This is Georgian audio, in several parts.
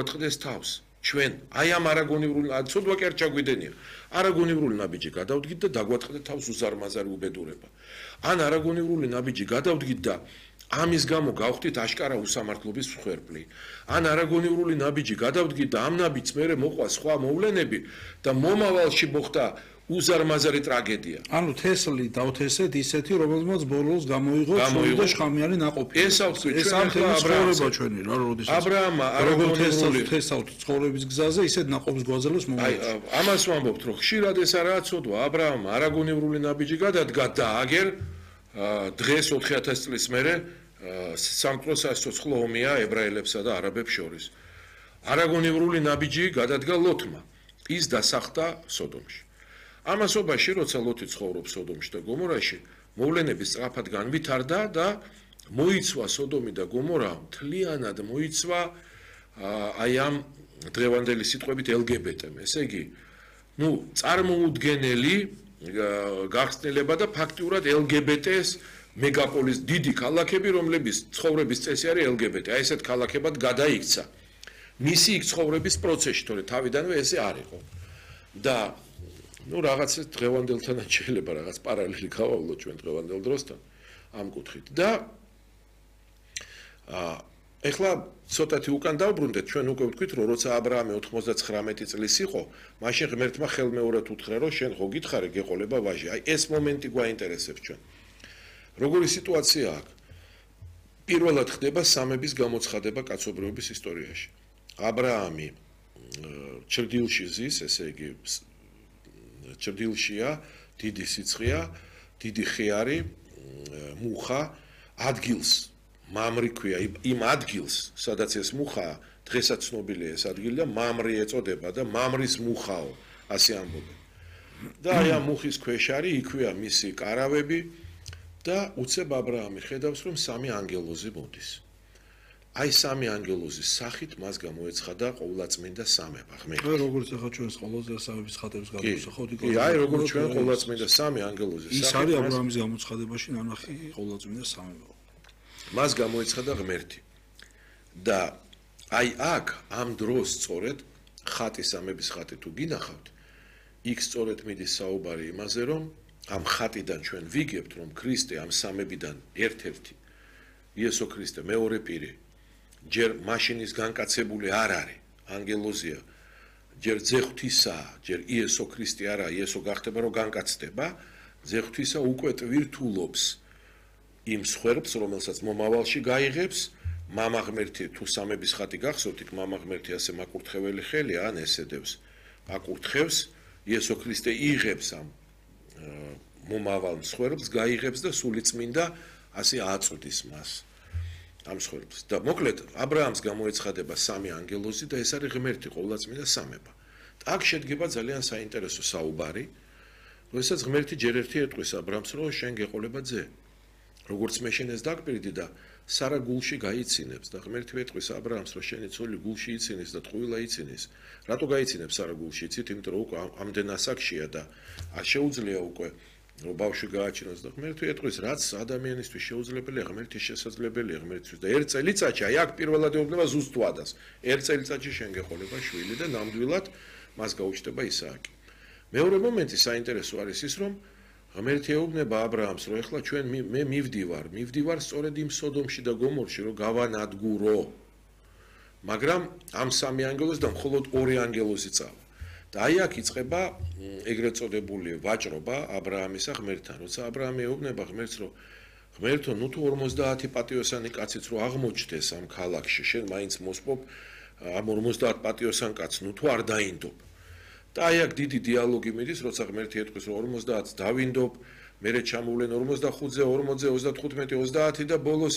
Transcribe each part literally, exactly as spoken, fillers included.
ოთხდეს თავს ჩვენ აი ამ არაგონივრული ცოდვა კი არ ჩაგვიდენია არაგონივრული ნაბიჯი გადავდგით და დაგვატყდეთ თავს უზარმაზარი უბედურება ან არაგონივრული ნაბიჯი გადავდგით და ამის გამო გავხდით აშკარა უსამართლობის მსხვერპლი ან არაგონივრული ნაბიჯი გადავდგით და ამ ნაბიჯს მერე მოყვა სხვა მოვლენები და მომავალში მოხდა უზარმაზარი ტრაგედია. ანუ თესლი დავთესეთ ისეთი, რომელზეც ბოლოს გამოიღო ცუდი და შხამიანი ნაყოფი. ეს ავთქვი ეს ამ ცხოვრება ჩვენი რა როდესაც. აბრაამა არაგონივრული თესავთ ცხოვრების გზაზე ისეთ ნაყოფს გვაძლევს მომავალში. აი ამას ვამბობთ, რომ ხშირად ეს არაა ცოდვა. აბრაამა არაგონივრული ნაბიჯი გადადგა და აგერ დღეს ოთხი ათასი წლის მერე სამკვდრო სასიცოცხლო ომია ებრაელებსა და არაბებს შორის. არაგონივრული ნაბიჯი გადადგა ლოთმა. ის დასახდა სოდომში. ამასობაში, როცა ლოთი ცხოვრობს სოდომში და გომორაში, მოვლენები სწრაფად განვითარდა და მოიცვა სოდომი და გომორა მთლიანად მოიცვა აი ამ დღევანდელი სიტყვებით ელ გი ბი ტე-მ. ესე იგი, ნუ წარმოუდგენელი გახსნილება და ფაქტიურად ელ გი ბი ტე-ს მეგაპოლის დიდი ქალაქები, რომლების ცხოვრების წესი არის ელ გი ბი ტე. აი ესეთ ქალაქებად გადაიქცა. მისი იქ ცხოვრების პროცესში, თორე თავიდანვე ესე არ იყო. და ну რაღაც დღევანდელთან შეიძლება რაღაც პარალელი გავავლოთ ჩვენ დღევანდელ დროსთან ამ კუთხით და აა ეხლა ცოტათი უკან დავბრუნდეთ ჩვენ უკვე ვთქვით რომ როცა აბრაამი ოთხმოცდაცხრამეტი წლის იყო მაშინ ღმერთმა ხელმეორედ უთხრა რომ შენ ხო გითხარი გეყოლება ვაჟი აი ეს მომენტი გვაინტერესებს ჩვენ როგორი სიტუაცია აქვს პირველად ხდება სამების გამოცხადება კაცობრიობის ისტორიაში აბრაამი ჩრდილში ზის ესე იგი ჩრდილშია დიდი სიცხეა დიდი ხეარი მუხა ადგილს მამრი ქვია იმ ადგილს სადაც ეს მუხა დღესაც ცნობილია ეს ადგილი და მამრი ეწოდება და მამრის მუხაო ასე ამბობენ და აი ამ მუხის ქვეშ არის იქვეა მისი კარავები და უცებ აბრაამი ხედავს რომ სამი ანგელოზი მოდის აი სამი ანგელოზის სახით მას გამოეცხადა ყოვლადწმინდა სამება ღმერთი. აი როგორც ახლა ჩვენს ყოველზე სამების ხატებს გამოსახავთ იქ. კი, აი როგორც ჩვენ ყოვლადწმინდა სამი ანგელოზის სახით. ის არის აბრაამის გამოცხადებაში ნანახი ყოვლადწმინდა სამება. მას გამოეცხადა ღმერთი. და აი აქ ამ დროს სწორედ ხატი სამების ხატი თუ გინახავთ, იქ სწორედ მიდის საუბარი იმაზე, რომ ამ ხატიდან ჩვენ ვიგებთ, რომ ქრისტე ამ სამებიდან ერთ-ერთი იესო ქრისტე მეორე პირი ჯერ მაშინის განკაცებული არ არის ანგელოზია ჯერ ძეღვთისა ჯერ იესო ქრისტე არა იესო გახდება რომ განკაცდება ძეღვთისა უკვე ტვირთულობს იმ სხვერპს რომელსაც მომავალში გაიღებს მამა ღმერთი თუ სამების ხატი გახსოვთ იქ მამა ღმერთი ასე მაკურთხეველი ხელი ან ესედებს აკურთხევს იესო ქრისტე იღებს ამ მომავალ სხვერპს გაიღებს და სულიწმინდა ასე აწვდის მას ამ ცხოვრებას და მოკლედ აბრაამს გამოეცხადება სამი ანგელოზი და ეს არის ღმერთი ყოვლადწმინდა სამება. აქ შედგება ძალიან საინტერესო საუბარი, როდესაც ღმერთი ჯერ ერთი ეტყვის აბრაამს, რომ შენ გეყოლება ძე. როგორც მე შენ ეს დაგპირდი და სარა გულში გაიცინებს და ღმერთი ეტყვის აბრაამს, რომ შენი ცოლი გულში იცინეს და ტყუილა იცინეს. რატო გაიცინებს სარა გულში იცით? იმიტომ რომ უკვე ამდენ ასაკშია და არ შეუძლია უკვე რომ ბავშვი გააჩინოს და ღმერთი ეტყვის რაც ადამიანისთვის შეუძლებელია ღმერთის შესაძლებელია ღმერთისთვის და ერთ წელიწადში აი აქ პირველად ეუბნება ზუსტ ვადას ერთ წელიწადში შენ გეყოლება შვილი და ნამდვილად მას გაუჩნდება ისააკი მეორე მომენტი საინტერესო არის ის რომ ღმერთი ეუბნება აბრაამს რომ ეხლა ჩვენ მე მივდივარ მივდივარ სწორედ იმ სოდომში და გომორში რომ გავანადგურო მაგრამ ამ სამი ანგელოზიდან მხოლოდ ორი ანგელოზი წავა და აი აქ იწყება ეგრეთ წოდებული ვაჭრობა აბრაამისა ღმერთთან. როცა აბრაამი ეუბნება ღმერთს, რომ ღმერთო, ნუ თუ ორმოცდაათი პატიოსანი კაციც რო აღმოჩნდეს ამ ქალაქში, შენ მაინც მოსპობ ამ ორმოცდაათ პატიოსან კაცს, ნუ თუ არ დაინდობ. და აი აქ დიდი დიალოგი მიდის, როცა ღმერთი ეტყვის, რომ ორმოცდაათს დავინდობ, მერე ჩამოვლენ ორმოცდახუთზე, ორმოცზე, ოცდათხუთმეტი, ოცდაათი და ბოლოს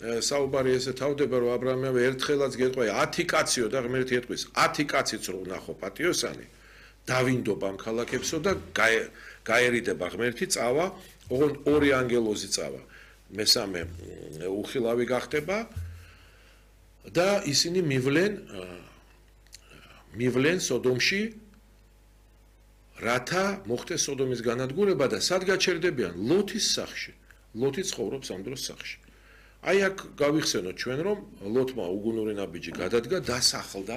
საუბარი ესე თავდება რომ აბრაამი ერთხელაც გეტყვი ათი კაციო და ღმერთი ეტყვის ათი კაციც რო ნახო პატიოსანი დავინდობ ამ ქალაქებსო და გაერიდება ღმერთი წავა ოღონდ ორი ანგელოზი წავა მესამე უხილავი გახდება და ისინი მივლენ მივლენ სოდომში რათა მოხდეს სოდომის განადგურება და სად გაჩერდებიან ლოთის სახში ლოთი ცხოვრობს ამ დროს სახში აი აქ გავიხსენოთ ჩვენ რომ ლოთმა უგუნური ნაბიჯი გადადგა, დასახლდა